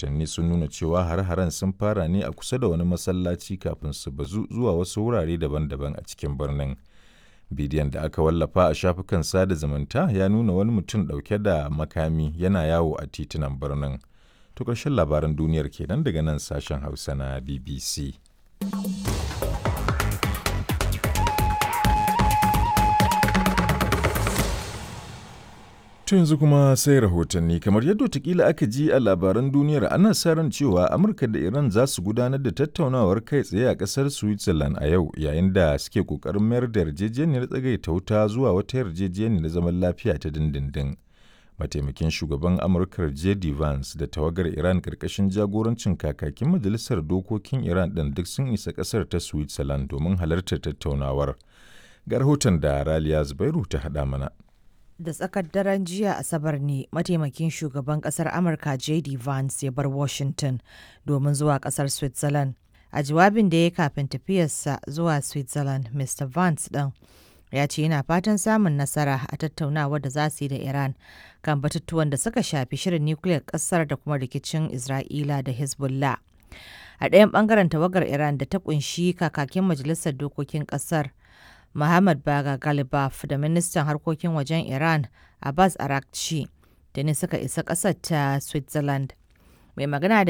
Rahotanni sun nuna cewa hare-haren sun fara ne a kusa da wani masallaci kafin su bazu zuwa wasu wurare daban-daban a cikin birnin. Bidiyon da aka wallafa a shafukan sada zumunta ya nuna wani mutum ɗauke da makami yana yawo a titunan birnin. To ƙarshen labaran duniyar kenan daga nan sashen Hausa na BBC. To yanzu kuma sai rahotanni kamar yadda watakila aka ji a labaran duniyar ana sa ran cewa Amurka da Iran za su gudanar da tattaunawar kai tsaye a ƙasar Switzerland a yau yayin da suke ƙoƙarin mayar da yarjejeniyar tsagaita wuta zuwa wata yarjejeniyar zaman lafiya ta dindindin. Mataimakin shugaban Amurkar J.D. Vance da tawagar Iran ƙarƙashin jagorancin kakakin majalisar dokokin Iran ɗin duk sun isa ƙasar ta Switzerland domin halartar tattaunawar. Ga rahoton da Raliya Zubairu ta haɗa mana. Da tsakar daren jiya Asabar ne mataimakin shugaban kasar Amurka JD Vance ya bar Washington domin zuwa kasar Switzerland. A jawabin da ya kafin tafiyarsa zuwa Switzerland, Mr. Vance ɗin ya ce yana fatan samun nasara a tattaunawar da za su yi da Iran kan batutuwan da suka shafi shirin nukiliyar kasar da kuma rikicin Isra'ila da Hezbollah. A ɗayan ɓangaren tawagar Iran da ta ƙunshi kakakin majalisar dokokin ƙasar Muhammad Baga Galibaf da ministan harkokin wajen Iran Abbas Arakci da ne suka isa ƙasar ta Switzerland. Mai magana da